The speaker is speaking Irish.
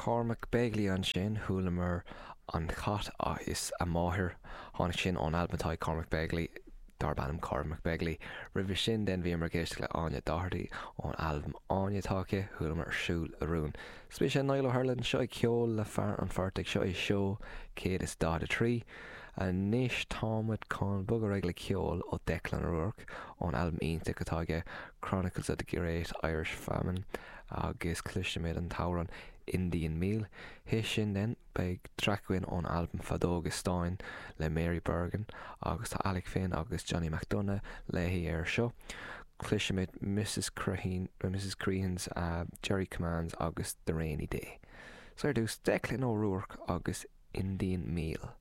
Cormac Begley ansin, chualamar An Cat is a Máthair. Tháinig sin ón albam atá ag Cormac Begley darb ainm Cormac Begley. Roimhe sin then bhíomar ag éisteacht le Áine Doherty ón albam Áine atá aici, chualamar Ar Siúl le Rún. Is mise Niall Ó hUrlain anseo ag ceol le fear an phortaigh. Seo é seó 143. Anois táimid chun bogadh ar aghaidh le ceol ó Declan O'Rourke ón albam iontach atá aige Chronicles of the Great Irish Famine agus cloisfimid an t-amhrán Indian Meal. Théis sin then beidh traic againn ón albam Feadóga Stáin le Mary Bergin agus tá Alec Finn agus Johnny McDonagh léi air seo. Cloisfimid Mrs Crehan, Mrs Crehan's Jerry Commands agus The Rainy Day. So ar dtús Declan O'Rourke agus Indian Meal.